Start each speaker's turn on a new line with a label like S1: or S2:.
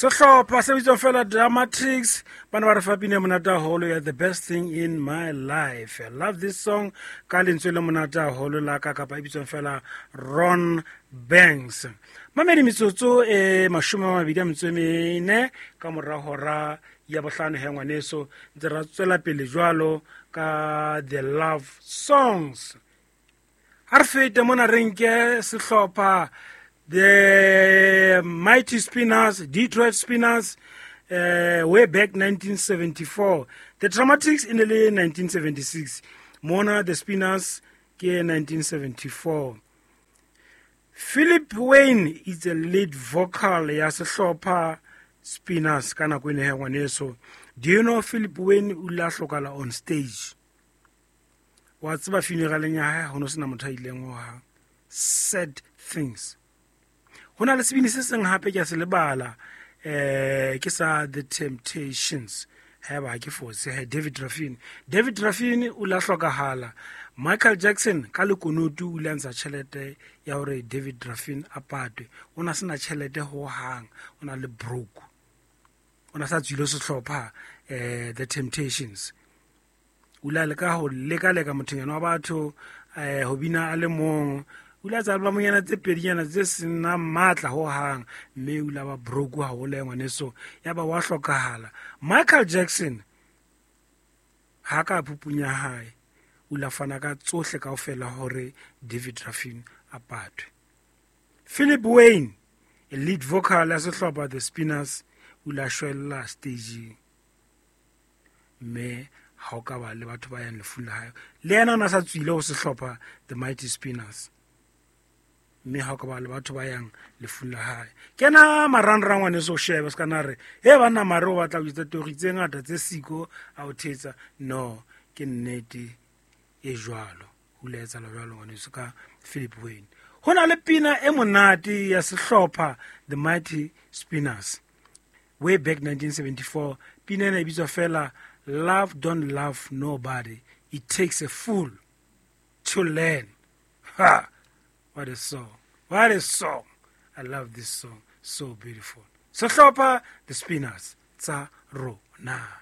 S1: Sehlopha se bitswang fela Dramatics ba ne ba re fa pina e monate haholo ya The Best Thing in My Life. I love this song ka lentswe le monate haholo la ka kapa e bitswang fela Ron Banks. Mamedi metsotso e 24 ka mora hora ya bohlano he ngwaneso ntse ra tswela pele jwalo ka the love songs. Ha re fete mona re nke sehlopha the Mighty Spinners, Detroit Spinners, way back 1974. The Dramatics in the 1976. Mona the Spinners ke 1974. Philip Wayne is the lead vocal ya sehlopha Spinners ka nako ene he ngwaneso. Do you know Philip Wayne o ile a hlokala on stage? Wa tseba funeraleng ya hae ho no sena motho a ileng ho hang. Sad things. Ho na le sebini se seng hape ke a se lebala, ke sa The Temptations. Haeba ha ke fose, he David Ruffin. David Ruffin o la hlokahala. Michael Jackson ka lekunutu o ile a ntsha tjhelete ya hore David Ruffin a patwe. O na sena tjhelete ho hang, o na le broke. O na sa tswile sehlopha The Temptations. O ile a leka ho leka-leka mothonyana wa batho ho bina a le mong. O ile a tsa albumonyana tse pedinyana tse senang matla ho hang, mme o ile a ba broke haholo ya ngwaneso, ya ba wa hlokahala. Michael Jackson ha ka phupunya hae, o ile a fana ka tsohle kaofela hore David Ruffin a patwe. Philip Wayne, a lead vocal ya sehlopha The Spinners, o ile a shwella stageng. Mme ha o ka ba le batho ba yang lefung la hae, le yena o na sa tswile ho sehlopha The Mighty Spinners. Mme ha o ka ba le batho ba yang lefung la hae, kena marangrang ngwaneso o shebe se ka na re he banna mare o batla ho etsa tori tse ngata tse siko a o thetsa. No, ke nnete e jwalo, ho ile ha etsahala jwalo ngwaneso ka Philip Wayne. Ho na le pina e monate ya sehlopha The Mighty Spinners way back 1974. Pina ena e bitswa fela Love Don't Love Nobody, It Takes a Fool to Learn. Ha! What a song. What a song. I love this song. So beautiful. Sehlopha The Spinners tsa rona.